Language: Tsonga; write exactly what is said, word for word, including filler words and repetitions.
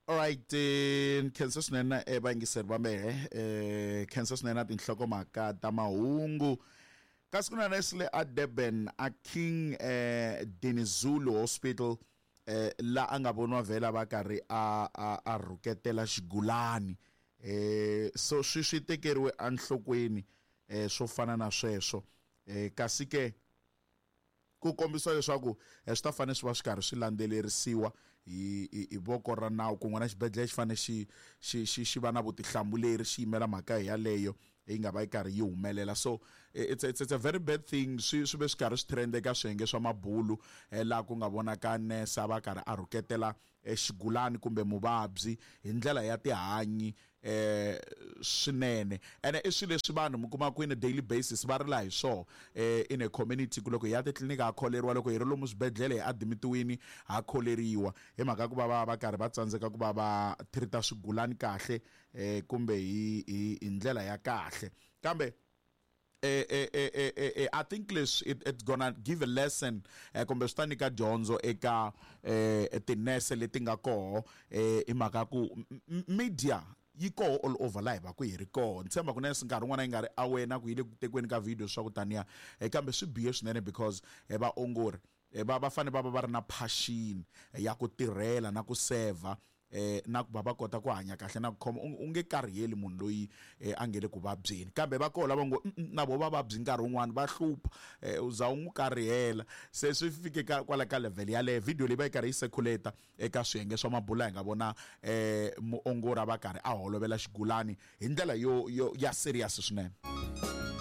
Alright, eh, khensa swinene eh, vayingiseri va mehe, eh, khensa swinene na tinhlokomhaka ta mahungu. Kasi ku na nurse le a Durban a King eh, Dinizulu Hospital, eh, la a nga voniwa vhela va karhi a, a, a rhuketela xigulani. Eh, so swi swi tekeriwe enhlokweni, eh, swo fana na sweswo. Eh, kasi ke ku kombisa leswaku, eh, swi ta fanele swi va swi karhi swi landzelerisiwa hi, hi, hi voko ra nawu. Kun'we na xibedhlele xi fanele xi, xi, xi, xi va na vutihlamuleri, xi yimela mhaka yaleyo yi nga va yi karhi yi humelela. So it's, it's, it's a very bad thing. Swi, swi ve swi karhi swi trend eka swiyenge swa mabulu, eh, laha ku nga vonaka nurse a va karhi a rhuketela, eh, xigulani kumbe muvabyi hi ndlela ya tihanyi, eh, swinene. Ene i swilo leswi vanhu mi kuma ku in a daily basis va rila hi swona, eh, in a community, ku loko hi ya titliliniki ha kholeriwa, loko hi ri lomu swibedhlele hi admitiwini ha kholeriwa, hi mhaka ku va va va karhi va tsandzeka ku va va treat-a swigulani kahle, eh, kumbe hi, hi, hi ndlela ya kahle. Kambe eh, eh, eh, eh, eh, eh, I think leswi it, it's gonna give a lesson, eh, kumbe swi ta nyika dyondzo eka, eh, tinese leti nga koho, eh, hi mhaka ku m-, m-, media yi koho all over laha hi va ku hi ri koho. Ni tshemba ku nurse nkarhi wun'wana yi nga ri aware na ku yi le ku tekiweni ka video swa ku taniya, eh, kambe swi bihe swinene because, eh, vaongori, eh, va, va fanele va va va ri na passion, eh, ya ku tirhela na ku serve, eh, na ku va va kota ku hanya kahle na ku khoma. U, u nge kariheli munhu loyi, eh, a nge le ku vabyeni, kambe va koho lava ngo, mm, mm, na vo va vabyi nkarhi wun'wani va hlupha, eh, u za u n'wi karihela. Se swi fike ka, kwala ka level yaleyo. Video leyi va yi karhi yi circulate eka swiyenge swa mabulu, hi nga vona, eh, muongori a va karhi a holovela xigulani hi ndlela yo, yo, ya serious swinene.